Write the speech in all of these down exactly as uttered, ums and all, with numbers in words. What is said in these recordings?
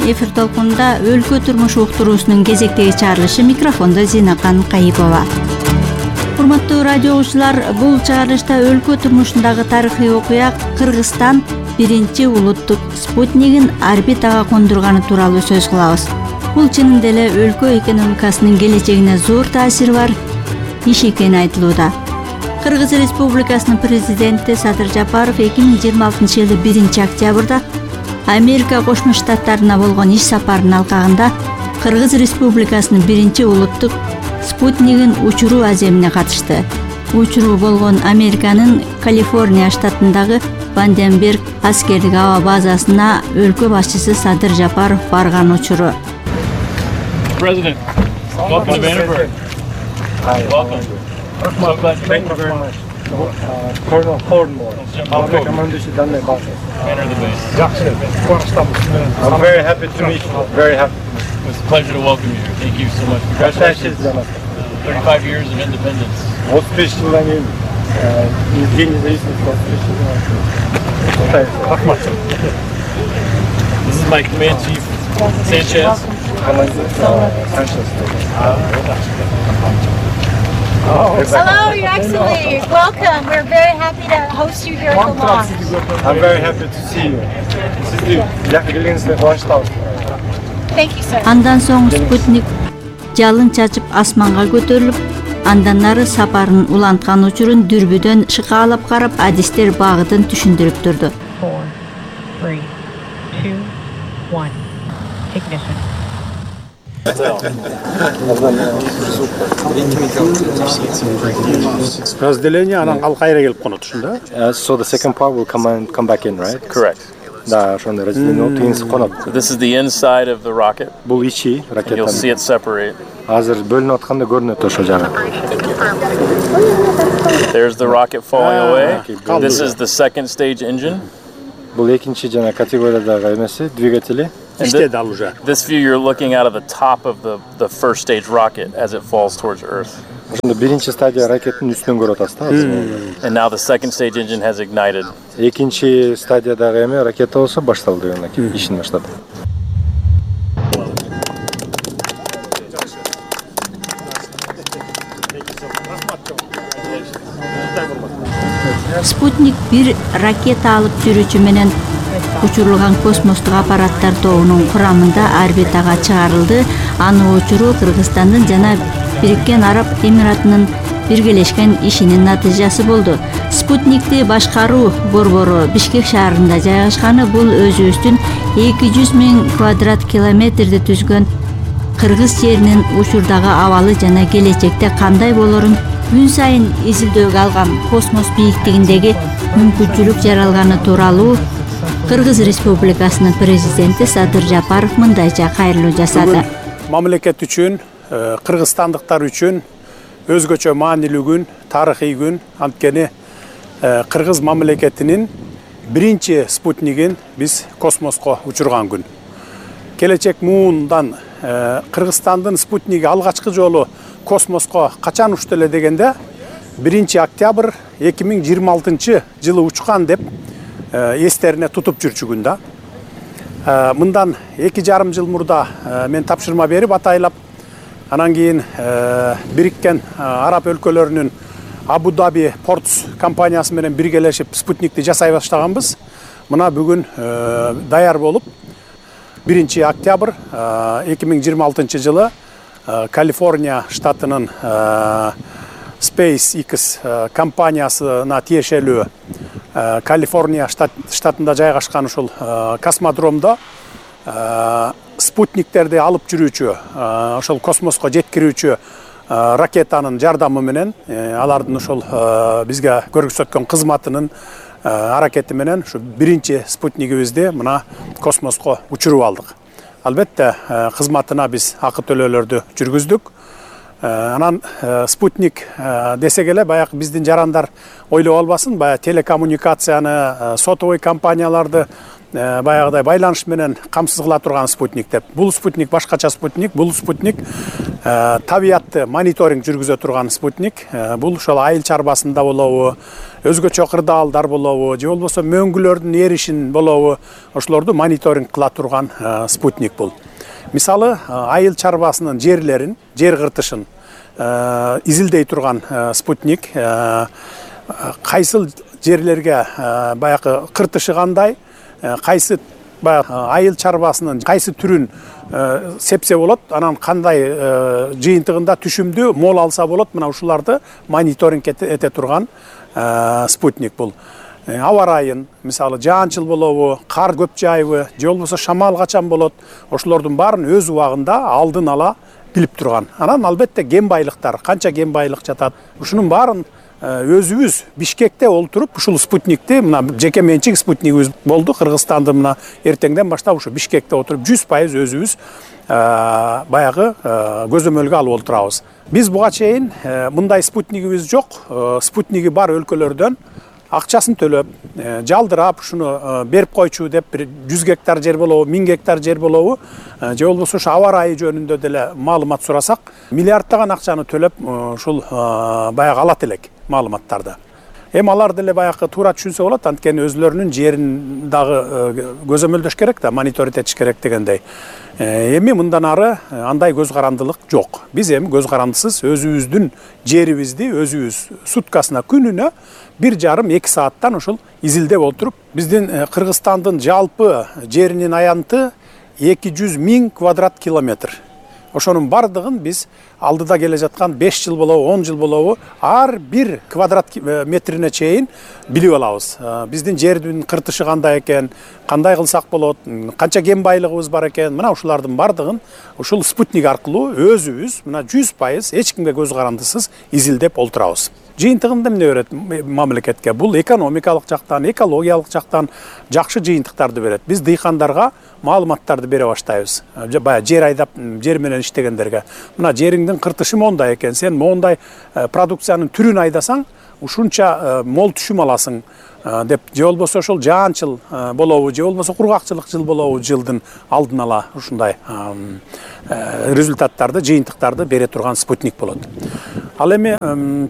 Эфир толкунунда өлкө турмуш уктуруусунун кезектеги чыгарылышы. Микрофондо Зинакан Кайыпова. Урматтуу радио угуучулар, бул чыгарылышта өлкө турмушундагы тарыхый окуя Кыргызстан биринчи улуттук спутнигин орбитага кондурганы тууралуу сөз кылабыз. Бул чынында эле өлкө экономикасынын келечегине зор таасири бар иш экени айтылууда. Кыргыз Республикасынын президенти Садыр Жапаров эки миң жыйырма алтынчы жылы биринчи октябрда Америка Кошмо Штаттарына болгон иш сапарынын алкагында Кыргыз Республикасынын биринчи улуттук спутнигин учуруу аземине катышты. Учуруу болгон Американын Калифорния штатындагы Ванденберг аскердик аба базасына өлкө башчысы Садыр Жапаров барган учуру. President, welcome to Vandenberg. Hi. Welcome. So glad you Thank you very much. Uh, Colonel Hornmore. Welcome. Enter the base. I'm very happy to meet you. Very happy. It's a pleasure to welcome you. Thank you so much. Congratulations. thirty-five years of independence. отуз жылдан кийин день независимости This is my command chief, Sanchez. Hello, Your Excellency. Welcome. We're very happy to host you here at the launch. I'm very happy to see you. Сизди жакшы келгениңизге кубанычтабыз. Thank you, sir. Андан соң спутник жалын чачып асманга көтөрүлүп, андан нары сапарын уланткан учурун дүрбүдөн шыкаалап карап, адистер багытын түшүндүрүп турду. four, three, two, one. Ignition. Разделение анан ал кайра келип конот ушунда. So the second part will come and come back in, right? Correct. Да, ошондой разделение тыйынсыз конот. This is the inside of the rocket. Бул ичи You'll see ракетанын. it separate. Азыр бөлүнүп атканда көрүнөт ошо жагы. There's the rocket falling away. kaldı. This is the second stage engine. Бул экинчи жана категориядагы эмеси, двигатели. And İşte al уже. This view, you're looking out of the top of the, the first stage rocket as it falls towards Earth. Ошондо биринчи стадия ракеттин үстүнөн көрүп атасыз да азыр. And now the second stage engine has ignited. Экинчи стадиядагы эме ракета болсо башталды, ишин баштады. Спутник бир ракета алып жүрүүчү менен учурулган космостук аппараттар тобунун курамында орбитага чыгарылды. Аны учуруу Кыргызстандын жана Бириккен Араб Эмиратынын биргелешкен ишинин натыйжасы болду. Спутникти башкаруу борбору Бишкек шаарында жайгашканы. Бул өзүбүздүн эки жүз миң квадрат километрди түзгөн Кыргыз жеринин учурдагы абалы жана келечекте кандай болорун күн сайын изилдөөгө алган космос бийиктигиндеги мүмкүнчүлүк жаралганы тууралуу Кыргыз Республикасынын президенти Садыр Жапаров мындайча кайрылуу жасады. Мамлекет үчүн, кыргызстандыктар үчүн өзгөчө маанилүү күн, тарыхый күн. Анткени Кыргыз мамлекетинин биринчи спутнигин биз космоско учурган күн. Келечек муундан Кыргызстандын спутниги алгачкы жолу космоско качан учту эле дегенде биринчи октябрь эки миң жыйырма алтынчы жылы учкан деп эстерине тутуп жүрчү күн да. Мындан эки жарым жыл мурда мен тапшырма берип атайлап, анан кийин Бириккен Араб өлкөлөрүнүн Абу Даби Портс компаниясы менен биргелешип спутникти жасай баштаганбыз. Мына бүгүн даяр болуп биринчи октябрь эки миң жыйырма алтынчы жылы Калифорния штатынын SpaceX компаниясына тиешелүү Калифорния штатында жайгашкан ушул космодромдо спутниктерди алып жүрүүчү, ошол космоско жеткирүүчү ракетанын жардамы менен, алардын ошол бизге көрсөткөн кызматынын аракети менен ушу биринчи спутнигибизди мына космоско учуруп алдык. Албетте кызматына биз акы төлөөлөрдү жүргүздүк. Анан спутник десек эле баягы биздин жарандар ойлоп албасын, баягы телекоммуникацияны, сотовый компанияларды баягыдай байланыш менен камсыз кыла турган спутник деп. Бул спутник башкача спутник, бул спутник табиятты мониторинг жүргүзө турган спутник. Бул ошол айыл чарбасында болобу, өзгөчө кырдаалдар болобу же болбосо мөңгүлөрдүн эришин болобу ошолорду мониторинг кыла турган спутник бул. Мисалы айыл чарбасынын жерлерин, жер кыртышын изилдей турган спутник, кайсыл жерлерге баягы кыртышы кандай, кайсы баягы айыл чарбасынын кайсы түрүн сепсе болот, анан кандай жыйынтыгында түшүмдүү мол алса болот, мына ушуларды мониторинг эте турган спутник бул. Аба ырайын, мисалы жаанчыл болобу, кар көп жайбы, же болбосо шамал качан болот, ошолордун баарын өз убагында алдын ала билип турган. Анан албетте ген байлыктар, канча ген байлык жатат, ушунун баарын өзүбүз Бишкекте олтуруп ушул спутникти, мына жеке менчик спутнигибиз болду Кыргызстанды, мына эртеңден баштап ушу Бишкекте отуруп жүз пайыз өзүбүз баягы көзөмөлгө алып олтурабыз. Биз буга чейин мындай спутнигибиз жок, спутниги бар өлкөлөрдөн акчасын төлөп, жалдырап, ушуну берип койчу деп, бир жүз гектар жер болобу, миң гектар жер болобу, же болбосо ушу аба ырайы жөнүндө деле маалымат сурасак, миллиарддаган акчаны төлөп, ушул баягы алат элек маалыматтарды. Эми алар деле баягы туура түшүнсө болот, анткени өзлөрүнүн жерин дагы көзөмөлдөш керек да, мониторинг этиш керек дегендей. Эми мындан ары андай көз карандылык жок. Биз эми көз карандысыз өзүбүздүн жерибизди өзүбүз суткасына, күнүнө бир жарым эки сааттан ушул изилдеп отуруп, биздин Кыргызстандын жалпы жеринин аянты эки жүз миң квадрат километр. Ошонун бардыгын биз алдыда келе жаткан беш жыл болобу, он жыл болобу, ар бир квадрат метрине чейин билип алабыз. Биздин жердин кыртышы кандай экен, кандай кылсак болот, канча кен байлыгыбыз бар экен, мына ушулардын бардыгын ушул спутник аркылуу өзүбүз мына жүз пайыз эч кимге көз карандысыз изилдеп олтурабыз. Жыйынтыгында эмне берет мамлекетке? Бул экономикалык жактан, экологиялык жактан жакшы жыйынтыктарды берет. Биз дыйкандарга маалыматтарды бере баштайбыз. Баягы жер айдап, жер менен иштегендерге. Мына жериңдин кыртышы мондай экен, сен мондай продукциянын түрүн айдасаң, ушунча мол түшүм аласың деп, же болбосо ошол жаанчыл болобу, же болбосо кургакчылык жыл болобу, жылдын алдын ала ушундай результаттарды, жыйынтыктарды бере турган спутник болот. Ал эми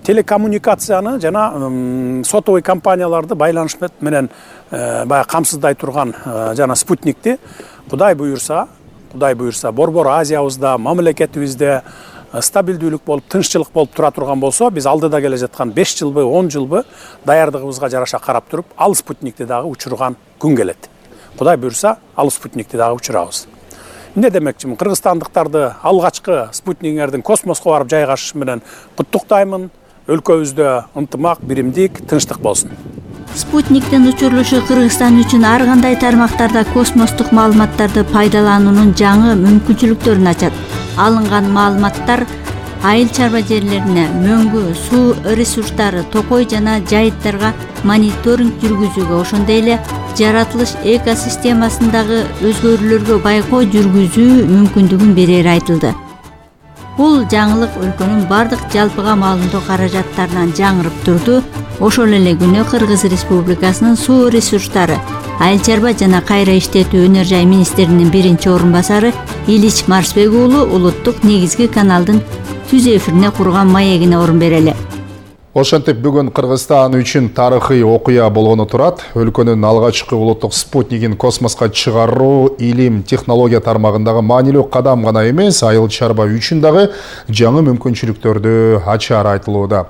телекоммуникацияны жана сотовый компанияларды байланыш менен баягы камсыздай турган жана спутникти Кудай буюрса, Кудай буюрса Борбор Азиябызда, мамлекетибизде стабилдүүлүк болуп, тынччылык болуп тура турган болсо, биз алдыда келе жаткан беш жылбы, он жылбы даярдыгыбызга жараша карап туруп, ал спутникти дагы учурган күн келет. Кудай буюрса, ал спутникти дагы учурабыз. Эмне демекчимин? Кыргызстандыктарды алгачкы спутниктердин космоско барып жайгашыш менен куттуктаймын. Өлкөбүздө ынтымак, биримдик, тынчтык болсун. Спутниктин учурулушу Кыргызстан үчүн ар кандай тармактарда космостук маалыматтарды пайдалануунун жаңы мүмкүнчүлүктөрүн ачат. Алынган маалыматтар айыл чарба жерлерине, мөңгү, суу ресурстары, токой жана жайыттарга мониторинг жүргүзүүгө, ошондой эле жаратылыш экосистемасындагы өзгөрүүлөргө байкоо жүргүзүү мүмкүндүгүн берери айтылды. Бул жаңылык өлкөнүн бардык жалпыга маалымдоо каражаттарынан жаңырып турду. Ошол эле күнү Кыргыз Республикасынын суу ресурстары, айыл чарба жана кайра иштетүү өнөр жай министринин биринчи орун басары Илич Марсбек уулу улуттук негизги каналдын түз эфирине курган маегине орун берели. Ошентип бүгүн Кыргызстан үчүн тарыхый окуя болгону турат. Өлкөнүн алгачкы улуттук спутнигин космоско чыгаруу илим, технология тармагындагы маанилүү кадам гана эмес, айыл чарба үчүн дагы жаңы мүмкүнчүлүктөрдү ачары айтылууда.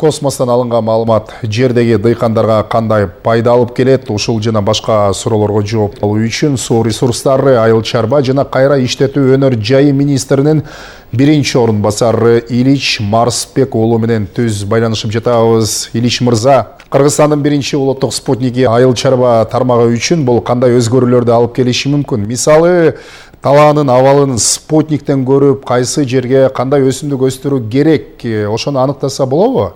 Космостон алынган маалымат жердеги дыйкандарга кандай пайда алып келет, ушул жана башка суроолорго жооп алуу үчүн суу ресурстары, айыл чарба жана кайра иштетүү өнөр жайы министринин биринчи орун басары Илич Марсбек уулу менен түз байланышып жатабыз. Илич мырза, Кыргызстандын биринчи улуттук спутниги айыл чарба тармагы үчүн бул кандай өзгөрүүлөрдү алып келиши мүмкүн? Мисалы, талаанын абалын спутниктен көрүп, кайсы жерге кандай өсүмдүк өстүрүү керек, ошону аныктаса болобу?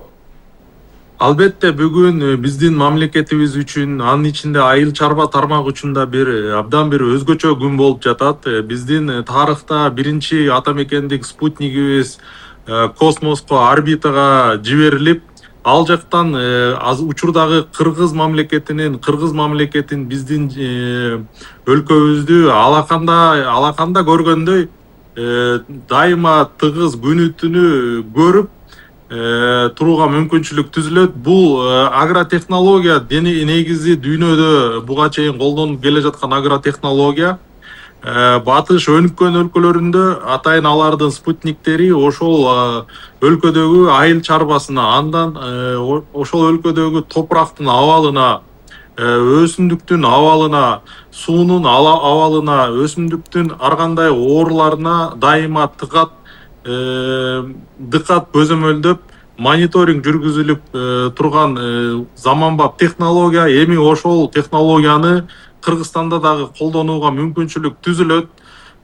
Албетте бүгүн биздин мамлекетибиз үчүн, анын ичинде айыл чарба тармагы үчүн да бир абдан бир өзгөчө күн болуп жатат. Биздин тарыхта биринчи ата мекендик спутнигибиз космоско, орбитага жиберилип, ал жактан учурдагы Кыргыз мамлекетинин, Кыргыз мамлекетин биздин өлкөбүздү алаканда алаканда көргөндөй дайыма тыгыз күнү түнү көрүп, турууга мүмкүнчүлүк түзүлөт. Бул агротехнология негизи дүйнөдө буга чейин колдонуп келе жаткан агротехнология. Батыш өнүккөн өлкөлөрүндө атайын алардын спутниктери ошол өлкөдөгү айыл чарбасына, андан ошол өлкөдөгү топурактын абалына, өсүмдүктүн абалына, суунун абалына, өсүмдүктүн ар кандай ооруларына дайыма тыкат дыкат көзөмөлдөп мониторинг жүргүзүлүп турган заманбап технология. Эми ошол технологияны Кыргызстанда дагы колдонууга мүмкүнчүлүк түзүлөт.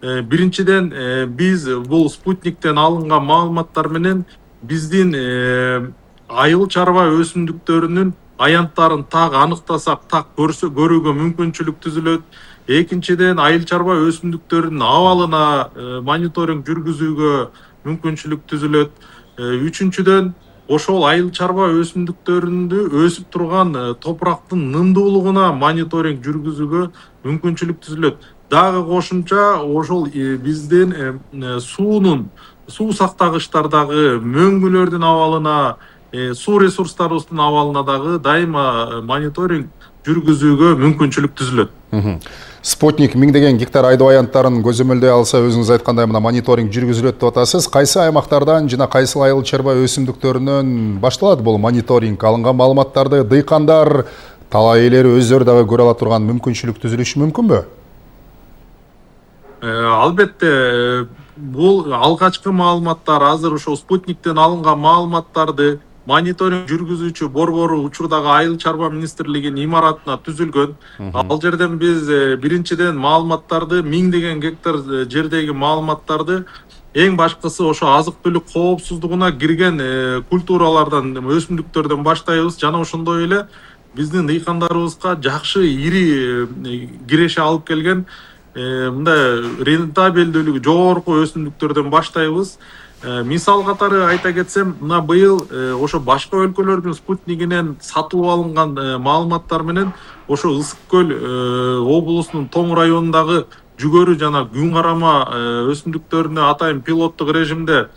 Биринчиден, биз бул спутниктен алынган маалыматтар менен биздин айыл чарба өсүмдүктөрүнүн аянттарын так аныктасак, так көрүүгө мүмкүнчүлүк түзүлөт. Экинчиден, айыл чарба өсүмдүктөрүнүн абалына мониторинг жүргүзүүгө мүмкүнчүлүк түзүлөт. Үчүнчүдөн, ошол айыл чарба өсүмдүктөрүндө өсүп турган топурактын нымдуулугуна мониторинг жүргүзүүгө мүмкүнчүлүк түзүлөт. Дагы кошумча ошол биздин суунун, суу сактагычтардагы мөңгүлөрдүн абалына, суу ресурстарыбыздын абалына дагы дайыма мониторинг жүргүзүүгө мүмкүнчүлүк түзүлөт. Спутник миңдеген гектар айдоо аянттарын көзөмөлдөй алса, өзүңүз айткандай мына мониторинг жүргүзүлөт деп атасыз. Кайсы аймактардан жана кайсы айыл чарба өсүмдүктөрүнөн башталат бул мониторинг? Алынган маалыматтарды дыйкандар, талаа ээлери өздөрү дагы көрө ала турган мүмкүнчүлүк түзүлүшү мүмкүнбү? Албетте, бул алгачкы маалыматтар, азыр ошол спутниктен алынган маалыматтарды мониторинг жүргүзүүчү борбору учурдагы айыл чарба министрлигинин имаратына түзүлгөн. Ал жерден биз биринчиден маалыматтарды, миңдеген гектар жердеги маалыматтарды эң башкысы ошо азык түлүк коопсуздугуна кирген культуралардан, өсүмдүктөрдөн баштайбыз. Жана ошондой эле биздин дыйкандарыбызга жакшы ири киреше алып келген мындай рентабелдүүлүгү жогорку өсүмдүктөрдөн баштайбыз. Мисал катары айта кетсем, мына быйыл ошо башка өлкөлөрдүн спутнигинен сатылып алынган маалыматтар менен ошо Ысык көл облусунун Тоң районундагы жүгөрү жана күн карама өсүмдүктөрүнө атайын пилоттук режимде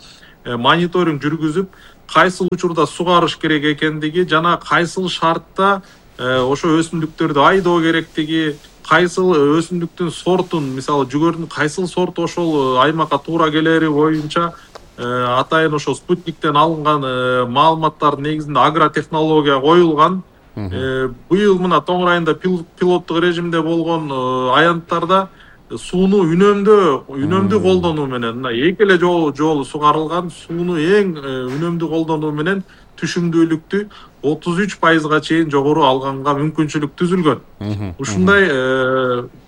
мониторинг жүргүзүп, кайсыл учурда сугарыш керек экендиги жана кайсыл шартта ошо өсүмдүктөрдү айдоо керектиги, кайсыл өсүмдүктүн сортун, мисалы жүгөрүнүн кайсыл сорту ошол аймакка туура келери боюнча атайын ошо спутниктен алынган маалыматтардын негизинде агротехнология коюлган. Быйыл мына Тоң районунда пилоттук режимде болгон аянттарда сууну үнөмдүү үнөмдүү колдонуу менен, мына эки эле жолу сугарылган сууну эң үнөмдүү колдонуу менен түшүмдүүлүктү отуз үч пайызга чейин жогору алганга мүмкүнчүлүк түзүлгөн. Ушундай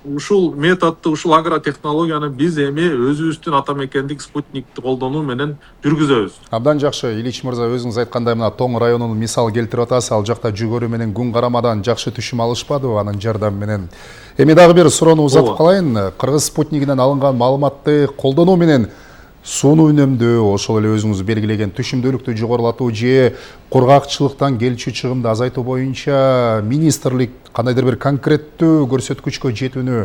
ушул методду, ушул агротехнологияны биз эми өзүбүздүн ата мекендик спутникти колдонуу менен жүргүзөбүз. Абдан жакшы, Ильич мырза, өзүңүз айткандай мына Тоң районунун мисал келтирип атасыз. Ал жакта жүгөрү менен күн карамадан жакшы түшүм алышпадыбы анын жардамы менен? Эми дагы бир суроону узатып калайын. Кыргыз спутнигинен алынган маалыматты колдонуу менен сууну үнөмдөө, ошол эле өзүңүз белгилеген түшүмдүүлүктү жогорулатуу же кургакчылыктан келчү чыгымды азайтуу боюнча министрлик кандайдыр бир конкреттүү көрсөткүчкө жетүүнү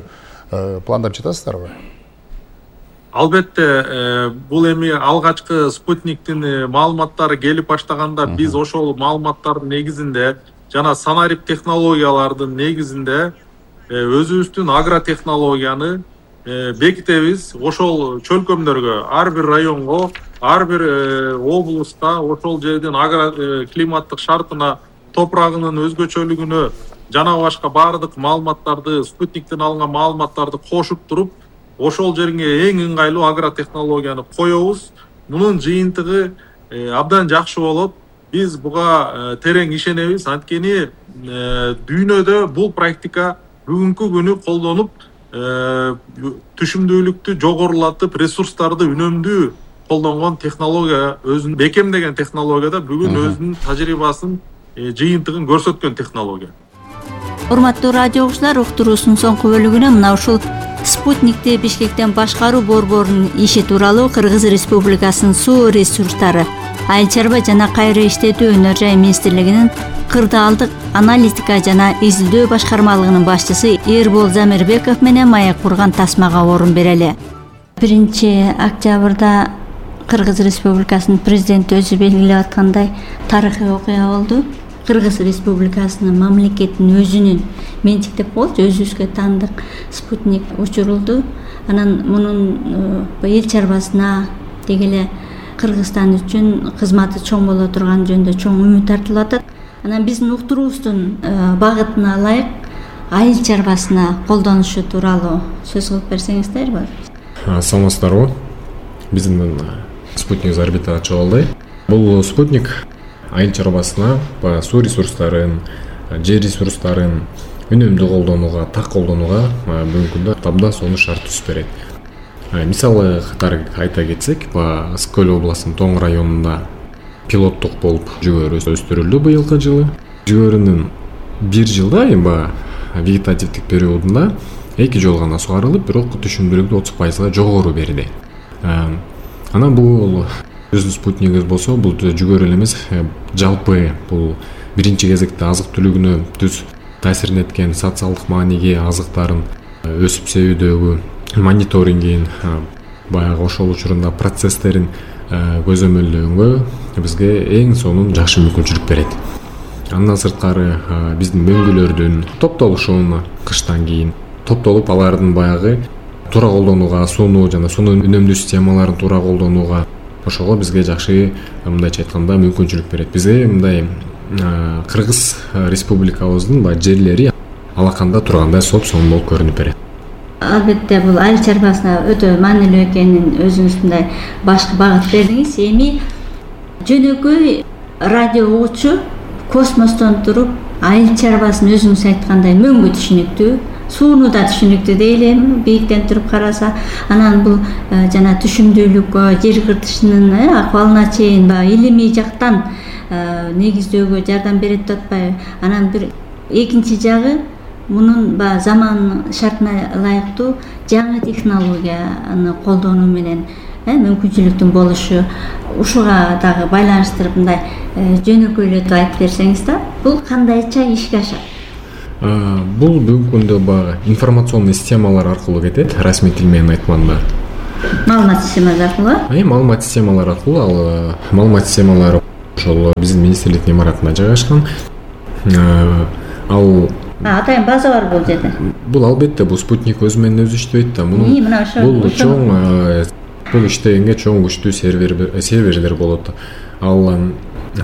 пландап жатасыздарбы? Албетте, бул эми алгачкы спутниктин маалыматтары келип баштаганда биз ошол маалыматтардын негизинде жана санарип технологиялардын негизинде өзүбүздүн агротехнологияны бекитебиз. Ошол чөлкөмдөргө, ар бир районго, ар бир облуска ошол жердин агро климаттык шартына, топурагынын өзгөчөлүгүнө жана башка баардык маалыматтарды, спутниктен алынган маалыматтарды кошуп туруп, ошол жерге эң ыңгайлуу агротехнологияны коебуз. Мунун жыйынтыгы абдан жакшы болот. Биз буга терең ишенебиз. Анткени дүйнөдө бул практика бүгүнкү күнү колдонуп, түшүмдүүлүктү жогорулатып, ресурстарды үнөмдүү колдонгон технология, өзүн бекемдеген технологияда бүгүн өзүнүн тажрыйбасын, жыйынтыгын көрсөткөн технология. Урматтуу радио угуучулар, уктуруусунун соңку бөлүгүнө мына ушул спутникти Бишкектен башкаруу борборунун иши тууралуу Кыргыз Республикасынын суу ресурстары, айыл чарба жана кайра иштетүү өнөр жай министрлигинин кырдаалдык аналитика жана изилдөө башкармалыгынын башчысы Эрбол Замирбеков менен маек курган тасмага орун берели. биринчи октябрда Кыргыз Республикасынын президенти өзү белгилеп аткандай тарыхый окуя болду. Кыргыз Республикасынын мамлекетинин өзүнүн менчиктеп болчу, өзүбүзгө таандык спутник учурулду. Анан мунун эл чарбасына деги эле Кыргызстан үчүн кызматы чоң боло турган жөнүндө чоң үмүт артылып атат. Анан биздин уктуруубуздун багытына ылайык айыл чарбасына колдонушу тууралуу сөз кылып берсеңиздерби? Саламатсыздарбы? Биздин спутник орбитага чыгылды. Бул спутник айыл чарбасына суу ресурстарын, жер ресурстарын үнөмдүү колдонууга, так колдонууга бүгүнкү күндө абдан сонун шарт түзүп берет. Мисалы катары айта кетсек, Ысык-Көл областынын Тоң районунда пилоттук болуп жүгөрү өстүрүлдү быйылкы жылы. Жүгөрүнүн бир жылда эми вегетативдик периодунда эки жолу гана сугарылып, бирок түшүмдүүлүктү отуз пайызга жогору берди. Анан бул биздин спутнигибиз болсо, бул жүгөрү эле эмес, жалпы бул биринчи кезекте азык түлүгүнө түз таасирин эткен социалдык мааниге азыктарын өсүп себүүдөгү мониторингин, баягы ошол учурунда процесстерин көзөмөлдөгөнгө бизге эң сонун жакшы мүмкүнчүлүк берет. Андан сырткары биздин мөңгүлөрдүн топтолушуна кыштан кийин топтолуп алардын баягы туура колдонууга, сууну жана суунун үнөмдүү системаларын туура колдонууга ошого бизге жакшы, мындайча айтканда, мүмкүнчүлүк берет. Бизге мындай Кыргыз Республикабыздын баягы жерлери алаканда тургандай соп сонун болуп көрүнүп берет. Албетте бул айыл чарбасына өтө маанилүү экенин өзүңүздөй башкы багыт бердиңиз. Эми жөнөкөй радио угуучу космостон туруп айыл чарбасын өзүңүз айткандай мөңгү түшүнүктүү, сууну да түшүнүктүү дейли, бийиктен туруп караса, анан бул жана түшүмдүүлүккө, жер кыртышынын акыбалына чейин баягы илимий жактан негиздөөгө жардам берет деп атпайбы? Анан бир экинчи жагы мунун баягы заман шартына ылайыктуу жаңы технологияны колдонуу менен мүмкүнчүлүктүн болушу, ушуга дагы байланыштырып мындай жөнөкөйлөтүп айтып берсеңиз да, бул кандайча ишке ашат? Бул бүгүнкү күндө баягы информационный системалар аркылуу кетет, расмий тил менен айтканда. Маалымат системалары аркылуу? Э, маалымат системалары аркылуу, ал маалымат системалары ошол биздин министрликтин имаратында жайгашкан. Ал атайын база бар бул жерде. Бул албетте бул спутник өзү менен өзү иштебейт да. Мунун бул чоң бул иштегенге чоң күчтүү сервер серверлер болот. Ал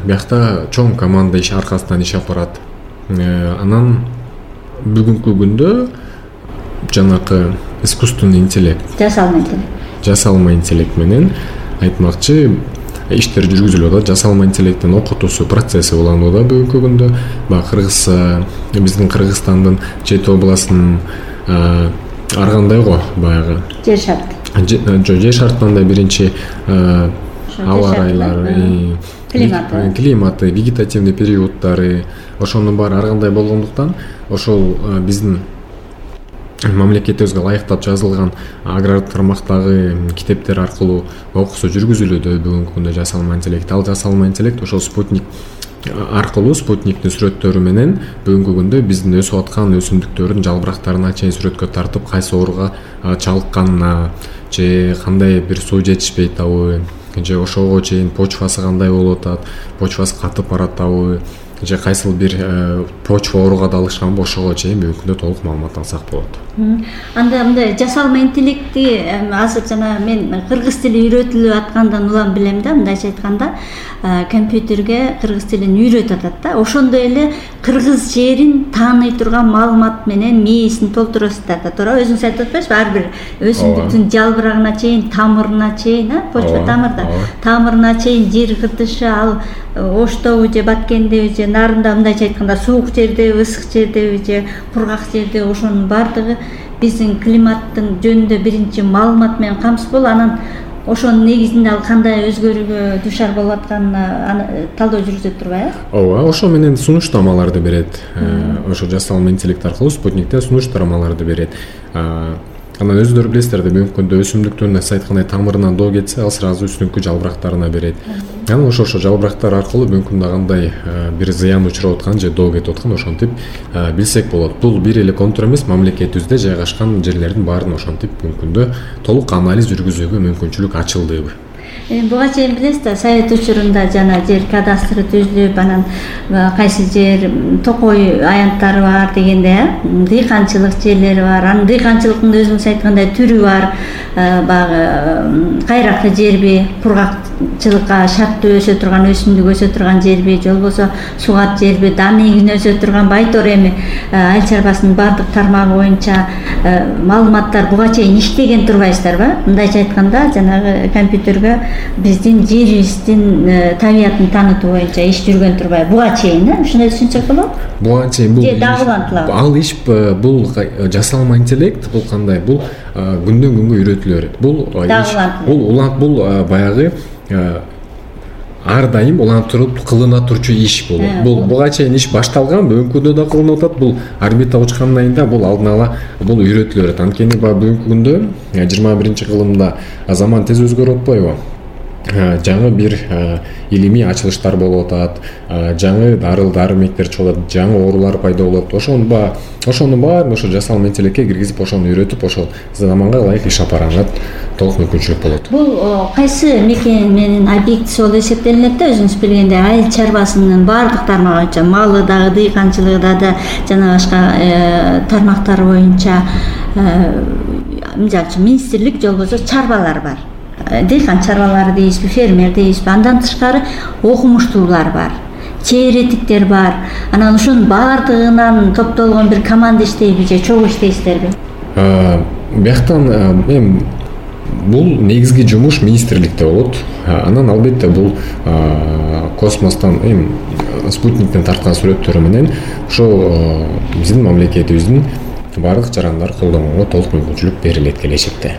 биякта чоң команда иш аркасынан иш алып барат. Анан бүгүнкү күндө жанакы искусственный интеллект, жасалма интеллект, жасалма интеллект менен айтмакчы иштер жүргүзүлүп атат. Жасалма интеллекттин окутуусу процесси уланууда бүгүнкү күндө. Баягы Кыргыз биздин Кыргызстандын жети областынын ар кандай го баягы жер шарты. Жер шартынан да биринчи аба ырайлары, климаты, климаты, вегетативный периоддары, ошонун баары ар кандай болгондуктан ошол биздин мамлекетибизге ылайыктап жазылган агрардык тармактагы китептер аркылуу окуусу жүргүзүлүүдө бүгүнкү күндө жасалма интеллект. Ал жасалма интеллект ошол спутник аркылуу, спутниктин сүрөттөрү менен бүгүнкү күндө биздин өсүп аткан өсүмдүктөрдүн жалбырактарына чейин сүрөткө тартып, кайсы ооруга чалыкканына, же кандай бир суу жетишпей атабы, же ошого чейин почвасы кандай болуп атат, почвасы катып баратабы, же кайсыл бир почва ооруга далышканбы, ошого чейин бүгүнкү күндө толук маалымат алсак болот. Анда мындай жасалма интеллектти азыр жана мен кыргыз тили үйрөтүлүп аткандан улам билем да, мындайча айтканда компьютерге кыргыз тилин үйрөтүп атат да. Ошондой эле кыргыз жерин тааный турган маалымат менен мээсин толтурасыздар да, туура өзүңүз айтып атпайсызбы? Ар бир өсүмдүктүн жалбырагына чейин, тамырына чейин, почва тамырда, тамырына чейин жер кыртышы, ал оштобу же баткендеби же нарында, мындайча айтканда суук жердеби, ысык жердеби же кургак жерде, ошонун баардыгы биздин климаттын жөнүндө биринчи маалымат менен камсыз болуп, анан ошонун негизинде ал кандай өзгөрүүгө душар болуп атканына талдоо жүргүзүп турбайбы? Ооба, ошо менен сунуштамаларды берет. Ошо жасалма интеллект аркылуу спутниктен сунуштармаларды берет. Анан өзүңөр билесиздер да, бүгүнкү күндө өсүмдүктүн сиз айткандай тамырынан доо кетсе, ал сразу үстүңкү жалбырактарына берет. Анан ошо ошо жалбырактар аркылуу бүгүнкү күндө кандай бир зыян учуруп аткан же доо кетип аткан ошентип билсек болот. Бул бир эле контур эмес, мамлекетибизде жайгашкан жерлердин баарын ошентип бүгүнкү күндө толук анализ жүргүзүүгө мүмкүнчүлүк ачылды. Буга чейин билесиз да, совет учурунда жана жер кадастры түзүлүп, анан кайсы жер токой аянттары бар дегенде, дыйканчылык жерлери бар. Анын дыйканчылыктын өзүңүз айткандай түрү бар. Баягы кайракты жерби, кургакчылыкка шарттуу өсө турган, өсүмдүк өсө турган жерби, же болбосо сугат жерби, дан эгин өсө турган. Байтор эми айыл чарбасынын бардык тармагы боюнча маалыматтар буга чейин иштеген турбайсыздарбы? Мындайча айтканда, жанагы компьютерге биздин жерибиздин табиятын таанытуу боюнча иш жүргөн турбай. Буга чейин, ушундай түшүнсөк болобу? Буга чейин бул дагылантылабы? Ал иш бул жасалма интеллект, бул кандай? Бул күндөн күнгө үйрөтүлө берет. Бул иш, бул улант, бул баягы ар дайым улантырып кылына турчу иш бул. Бул буга чейин иш башталган, бүгүнкү күндө да кылынып атат. Бул орбита учкандан кийин бул алдын ала бул үйрөтүлө берет. Анткени бүгүнкү күндө жыйырма биринчи кылымда заман тез өзгөрүп атпайбы? Жаңы бир илимий ачылыштар болуп атат, жаңы дарыл дарымектер чыгып атат, жаңы оорулар пайда болот. Ошону ба, ошону баарын ошо жасалма интеллектке киргизип, ошону үйрөтүп, ошол заманга ылайык иш алып барганга толук мүмкүнчүлүк болот. Бул кайсы мекен менен объектиси болуп эсептелинет да, өзүңүз билгендей, айыл чарбасынын баардык тармагы боюнча, малы дагы, дыйканчылыгы да, жана башка тармактар боюнча, мисалы үчүн министрлик же болбосо чарбалар бар. Дыйкан чарбалары дейбизби, фермер дейбизби, андан тышкары окумуштуулар бар, чейретиктер бар. Анан ошонун баардыгынан топтолгон бир команда иштейби же чогуу иштейсиздерби? Бияктан эми бул негизги жумуш министрликте болот. Анан албетте бул космостон эми спутниктен тарткан сүрөттөрү менен ошо биздин мамлекетибиздин баардык жарандарды колдонууга толук мүмкүнчүлүк берилет келечекте.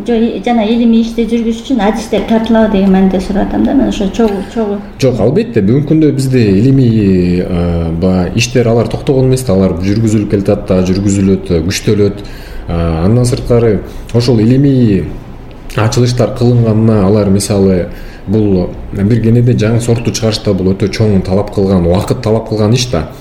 Жана илимий ишти жүргүзүш үчүн адистер тартылабы деген мааниде сурап атам да, мен ошо чогуу чогуу. Жок, албетте бүгүнкү күндө бизде илимий иштер алар токтогон эмес да, алар жүргүзүлүп келатат да, жүргүзүлөт, күчтөлөт. Андан сырткары ошол илимий ачылыштар кылынганына алар мисалы бул бир кенеде жаңы сортту чыгарышта бул өтө чоң талап кылган, убакыт талап кылган иш да.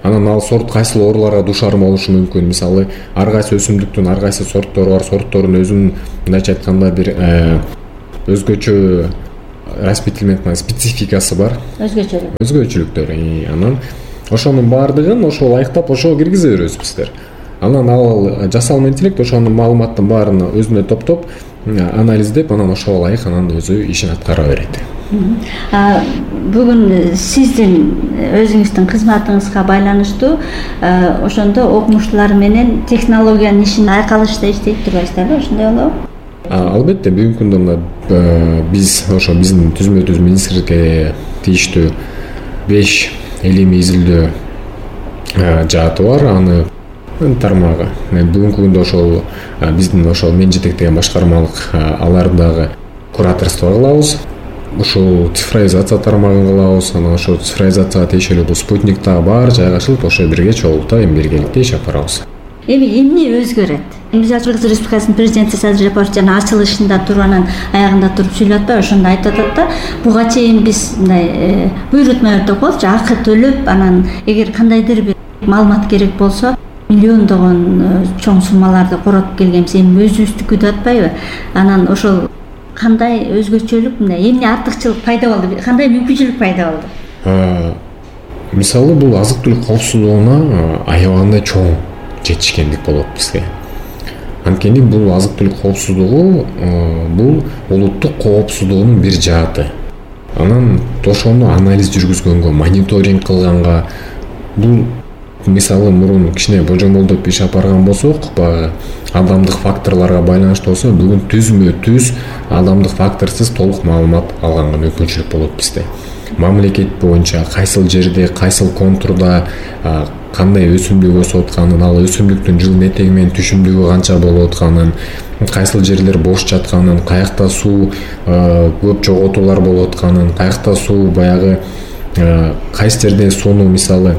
Анан ал сорт кайсыл ооруларга дуушар болушу мүмкүн. Мисалы, ар кайсы өсүмдүктүн ар кайсы сорттору бар, сорттордун өзүнүн мындайча айтканда бир өзгөчө растительмент спецификасы бар. Өзгөчөлүк. Өзгөчөлүктөр. Анан ошонун баардыгын ошол ылайыктап ошо киргизе беребиз биздер. Анан ал жасалма интеллект ошонун маалыматтын баарын өзүнө топтоп, анализдеп, анан ошого ылайык анан өзү ишин аткара берет. Бүгүн сиздин өзүңүздүн кызматыңызга байланыштуу ошондо окумуштуулар менен технологиянын ишин айкалышта иштейт турбайсыздарбы? Ошондой болобу? Албетте бүгүнкү күндө мына биз ошо биздин түзмө-түз министрликке тийиштүү беш илимий изилдөө жааты бар. Аны тармагы бүгүнкү күндө ошол биздин ошол мен жетектеген башкармалык аларды дагы кураторство кылабыз. Ушул цифровизация тармагын кылабыз. Анан ошол цифровизацияга тиешелүү бул спутник дагы бар жайгашылып, ошо бирге чогултуп эми биргеликте иш алып барабыз. Эми эмне өзгөрөт? Мисалы үчүн Кыргыз Республикасынын президенти Садыр Жапаров жана ачылышында туруп анан аягында туруп сүйлөп атпайбы, ошондо айтып атат да, буга чейин биз мындай буйрутма өртөп коелучу, акы төлөп, анан эгер кандайдыр бир маалымат керек болсо, миллиондогон чоң суммаларды коротуп келгенбиз, эми өзүбүздүкү деп атпайбы? Анан ошол кандай өзгөчөлүк, мындай эмне артыкчылык пайда болду, кандай мүмкүнчүлүк пайда болду? Мисалы, бул азык-түлүк коопсуздугуна аябагандай чоң жетишкендик болот бизге. Анткени бул азык-түлүк коопсуздугу бул улуттук коопсуздугунун бир жааты. Анан ошону анализ жүргүзгөнгө, мониторинг кылганга, бул мисалы мурун кичине божомолдоп иш алып барган болсок, баягы адамдык факторлорго байланыштуу болсо, бүгүн түзмө-түз адамдык факторсуз толук маалымат алганга мүмкүнчүлүк болот бизде. Мамлекет боюнча кайсыл жерде, кайсыл контурда кандай өсүмдүк өсүп атканын, ал өсүмдүктүн жыл метеги менен түшүмдүгү канча болуп атканын, кайсыл жерлер бош жатканын, каякта суу көп жоготуулар болуп атканын, каякта суу баягы кайсы жерден сууну мисалы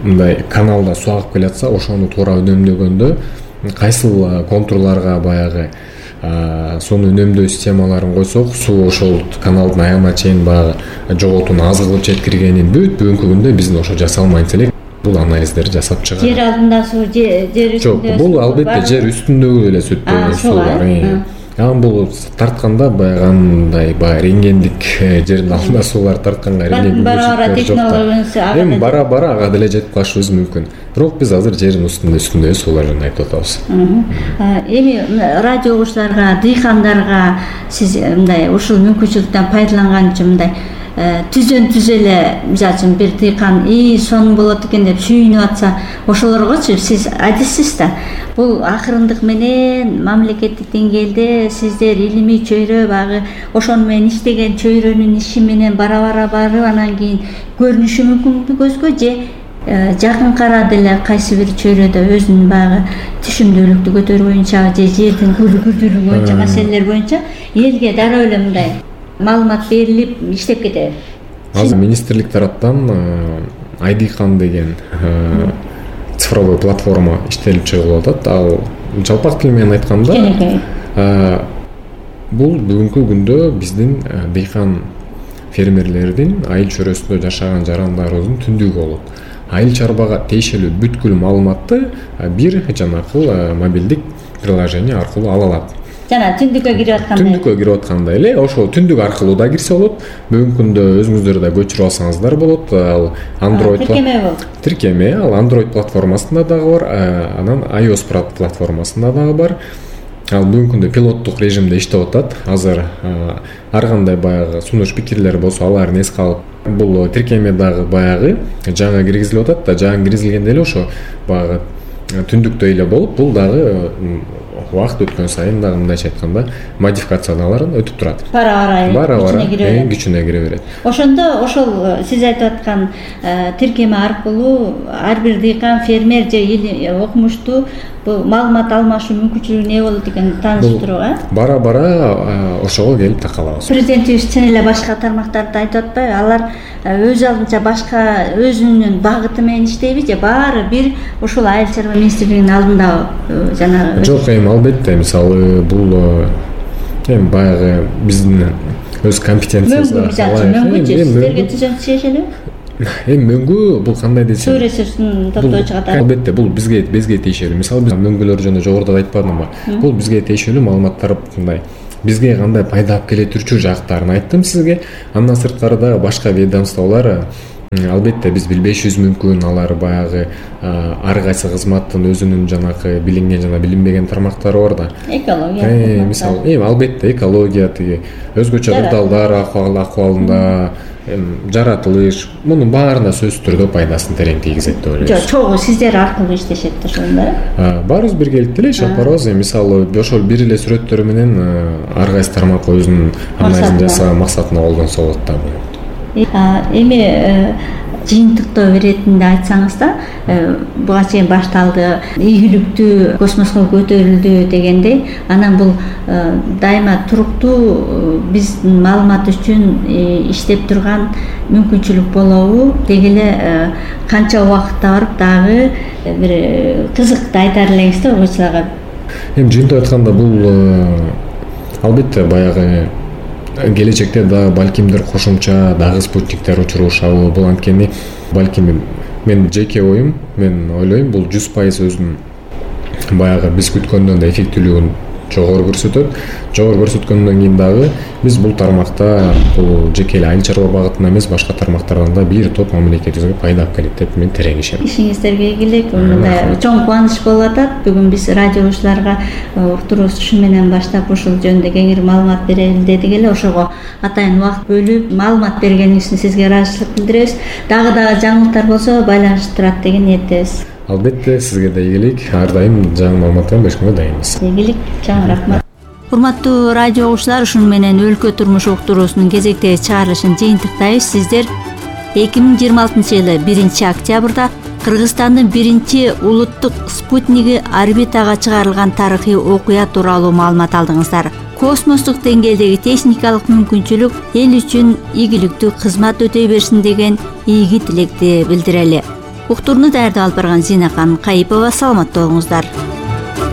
мындай каналда суу агып келатса, ошону туура үнөмдөгөндө кайсыл контурларга баягы сууну үнөмдөө системаларын койсок, суу ошол каналдын аягына чейин баягы жоготууну аз кылып жеткиргенин бүт бүгүнкү күндө биздин ошо жасалма интеллект бул анализдерди жасап чыгарат. Жер алдында суу, жер үстүндө. Жок, бул албетте жер үстүндөгү эле суудар. Анан бул тартканда баягы андай баягы рентгендик жердин алдында суулар тартканга рентген бара-бара технология эми бара-бара ага деле жетип калышыбыз мүмкүн. Бирок биз азыр жердин үстүндө үстүндө суулар жөнүндө айтып атабыз. Эми радио угуучуларга, дыйкандарга сиз мындай ушул мүмкүнчүлүктөн пайдаланган үчүн мындай түзөн түз эле, мисалы үчүн бир дыйкан и сонун болот экен деп сүйүнүп атса, ошолоргочу сиз айтасыз да. Бул акырындык менен мамлекеттик деңгээлде сиздер илимий чөйрө багы ошону менен иштеген чөйрөнүн иши менен бара-бара барып анан кийин көрүнүшү мүмкүн көзгө же жакынкы арада эле кайсы бир чөйрөдө өзүнүн баягы түшүмдүүлүктү көтөрүү боюнча же жердин күрдүүлүгү боюнча маселелер боюнча элге дароо эле мындай маалымат берилип иштеп кетеби. Азыр министрлик тараптан айдыйкан деген цифровой платформа иштелип чыгылып атат. Ал жалпак тил менен айтканда бул бүгүнкү күндө биздин дыйкан фермерлердин айыл чөйрөсүндө жашаган жарандарыбыздын түндүгү болот. Айыл чарбага тиешелүү бүткүл маалыматты бир жанакыл мобилдик приложение аркылуу ала алат. Жана түндүккө кирип атканда түндүккө кирип атканда эле ошол түндүк аркылуу да кирсе болот. Бүгүнкү күндө өзүңүздөр да көчүрүп алсаңыздар болот. Ал Android тиркеме болот. Тиркеме ал Android платформасында дагы бар, анан iOS платформасында дагы бар. Ал бүгүнкү күндө пилоттук режимде иштеп атат. Азыр ар кандай баягы сунуш пикирлер болсо аларын эске алып, бул тиркеме дагы баягы жаңы киргизилип атат да, жаңы киргизилгенде эле ошо баягы түндүктөй эле болуп, бул дагы убакыт өткөн сайын дагы мындайча айтканда модификациялардан өтүп турат. Бара-бара бара-бара күчүнө кире берет. Ошондо ошол сиз айтып аткан тиркеме аркылуу ар бир дыйкан, фермер же окумуштуу бул маалымат алмашуу мүмкүнчүлүгү эмне болот экенин тааныштыруу, э? Бара-бара ошого келип такалабыз. Президентибиз чын эле башка тармактарды айтып атпайбы? Алар өз алдынча башка өзүнүн багыты менен иштейби же баары бир ушул айыл чарба министрлигинин алдында жана жок, эми албетте, мисалы бул эми баягы биздин өз компетенциябызга мөңгү сиздерге түзөн тиешелүү? Эми мөңгү бул кандай десем, суу ресурсун топтоочу катары. Албетте бул бизге бизге тиешелүү. Мисалы биз мөңгүлөр жөнүндө жогоруда айтпадымбы? Бул бизге тиешелүү маалыматтар мындай. Бизге кандай пайда алып келе турчу жактарын айттым сизге. Андан сырткары дагы башка ведомстволор албетте биз билбешибиз мүмкүн, алар баягы ар кайсы кызматтын өзүнүн жанакы билинген жана билинбеген тармактары бар да. Экология. Мисалы, эми албетте экология, тиги өзгөчө кырдаалдар акыбалында жаратылыш, мунун баарына сөзсүз түрдө пайдасын терең тийгизет деп ойлойбуз. Жок, чогуу сиздер аркылуу иштешет да ошондо. Баарыбыз биргеликте эле иштеп барабыз. Мисалы, ошол бир эле сүрөттөр менен ар кайсы тармак өзүнүн анализин жасаган максатына колдонсо болот да. Эми жыйынтыктоо иретинде айтсаңыз да, буга чейин башталды, ийгиликтүү космоско көтөрүлдү дегендей, анан бул дайыма туруктуу биздин маалымат үчүн иштеп турган мүмкүнчүлүк болобу, деги эле канча убакытта барып дагы бир кызыкты айтар элеңиз да угуучуларга. Эми жыйынтып айтканда бул албетте баягы келечекте да балкимдир кошумча дагы спутниктер учурушабы, бул анткени балким мен жеке оюм, мен ойлойм бул жүз пайыз өзүнүн баягы биз күткөндөн да эффектүүлүгүн жогору көрсөтөт. Жогору көрсөткөндөн кийин дагы биз бул тармакта бул жеке эле айыл чарба багытына эмес, башка тармактардан да бир топ мамлекетибизге пайда алып келет деп мен терең ишенем. Ишиңиздерге ийгилик, мындай чоң кубаныч болуп атат. Бүгүн биз радио угуучуларга уктуруубуз ушу менен баштап ушул жөнүндө кеңири маалымат берели дедик эле. Ошого атайын убакыт бөлүп маалымат бергениңиз үчүн сизге ыраазычылык билдиребиз. Дагы дагы жаңылыктар болсо байланыштырат деген ниеттебиз. Албетте, сизге да ийгилик. Ар дайым жаңы маалыматтар беришке дайынбыз. Ийгилик, чоң рахмат. Урматтуу радио угуучулар, ушуну менен өлкө турмуш уктуруусунун кезектеги чыгарылышын жыйынтыктайбыз. Сиздер эки миң жыйырма алтынчы жылы биринчи октябрда Кыргызстандын биринчи улуттук спутниги орбитага чыгарылган тарыхый окуя тууралуу маалымат алдыңыздар. Космостук деңгээлдеги техникалык мүмкүнчүлүк эл үчүн ийгиликтүү кызмат өтөй берсин деген ийги тилекти билдирели. Уктурууну даярдап алып барган Зинакан Кайыпова. Саламатта болуңуздар.